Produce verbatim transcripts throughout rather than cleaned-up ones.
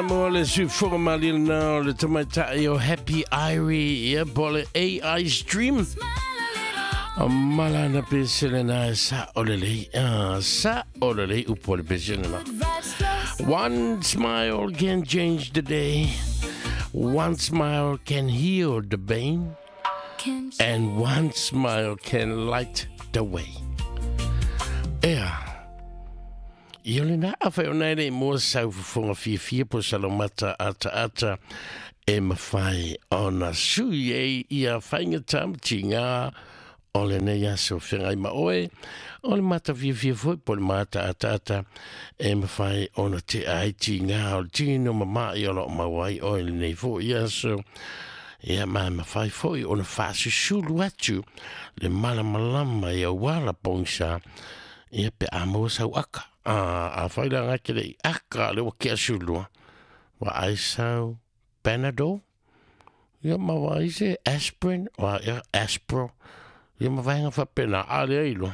Mo le sufoga malina o le tamaitai o Happy Irie, ia po le A I Stream. O malana pesele na sa o le lei, sa o le lei upo le pesele na. One smile can change the day. One smile can heal the pain. And one smile can light the way. Ea. Ia le nā awhai o nei rei mua sau fufunga fiafia po salomata ata ata e mawhai o na sui e ia whainga tamati ngā o le nei aso whengai ma oe o le mata fiafia foi po le mata ata ata e mawhai o na te aiti ngā o le tino mamai o lo mawai o le nei foi aso. Ia ma mawhai foi o na whaasusulu atu le malamalama ia wala pongsa ia pe a maua sau aka. A whai la ngā kere i aka le wa kia sulua. Wa ai sau Panadol. Ia ma wa ai se aspirin. Wa ia aspro. Ia ma vaenga whapena a le ailo.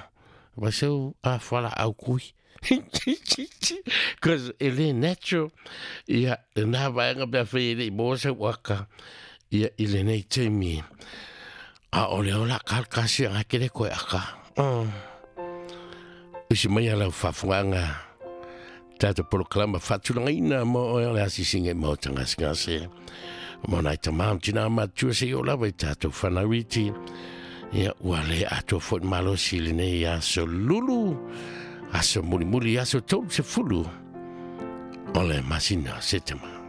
Wa sau a whala au kui. Cause e le natural. Ia nā vaenga pea whai le i mō sau aka. Ia i le nei teimi. A o le ola kalkasi ngā kere koe aka. Usi mai ala whawhanga tātou polokalama whatulangaina mo oe o le asisinga i mo tangasingase. Mo nai tamam tina matua se i o lawa i tātou whanauiti. Ia ua le atua fo'i malosi le nei aso lulu, aso mulimuli, aso tolu se fulu. O le masina se tema.